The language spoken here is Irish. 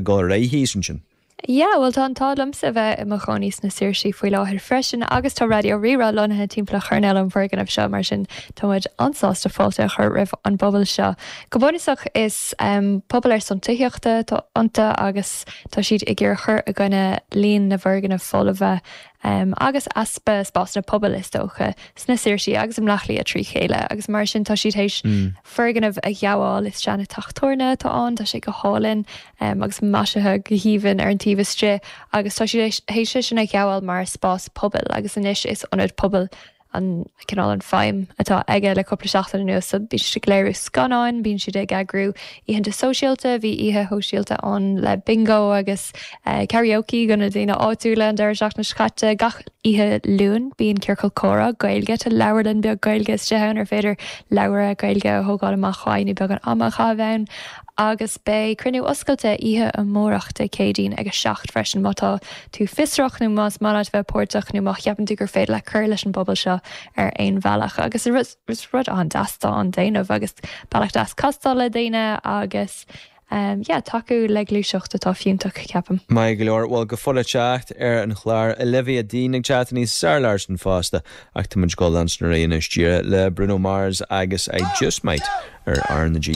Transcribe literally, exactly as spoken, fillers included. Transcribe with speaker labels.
Speaker 1: dul ar aghaidh thíos ansin.
Speaker 2: Yeah, well tá an t-ádh liomsa bheith i mo chónaí sna Saoirsí faoi láthair freisin agus tá Raidió Rí-Rá lonnaithe timpeall choirnéal an fhoirgneamh seo mar sin tá muid an-sásta fáilte a chur roimh an bpobal seo. Go bunúsach is um, pobal ar son tithíochta atá iontu agus tá siad ag iarraidh cur i gcoinne líon na bhfoirgneamh folmha um, agus easpa spásanna pobail is dócha sna Saoirsí agus i mBleá Cliath trí chéile agus mar sin tá siad théis mm. foirgneamh a ghabháil is seana teach tábhairne atá ann tá sé go hálainn um, agus maisithe go haoibhinn ar an taobh istigh agus tá siad théis sin a ghabháil mar spás pobail agus anois is ionad pobail an cineál an feidhm atá aige le cúpla seachtain anuas so bíonn siad ag léiriú scannáin, bíonn siad ag eagrú oícheanta sóisialta, bhí oíche shóisialta ann le bingo agus uh, karaoke do na daoine áitiúla an deireadh seachtaine seo caite gach oíche Luain bíonn ciorcal comhrá Gaeilge tá leabharlann beag Gaeilge istigh ann ar féidir leabhar Gaeilge a thógáil amach chuig nó beagán ama a chaitheamh ann agus beidh cruinniú oscailte oíche amárach Dé Céadaoin ag a seacht freisin má tá tú fiosrach nó más maith leat bheith páirteach nó má cheapann tú gur féidir le cur leis an bpobal seo ar aon bhealach agus is rud an-deas atá á dhéanamh agus bealach deas castáil le daoine agus um, yeah, tacú le gluaiseacht atá fiúntach ceapaim.
Speaker 1: Maith go leor bhuel go fóill teacht ar an chlár Olivia Dean ag teacht níos sar san fosta ach tá muid ag dul leanstan anois le Bruno Mars agus I Just Might ar R na G.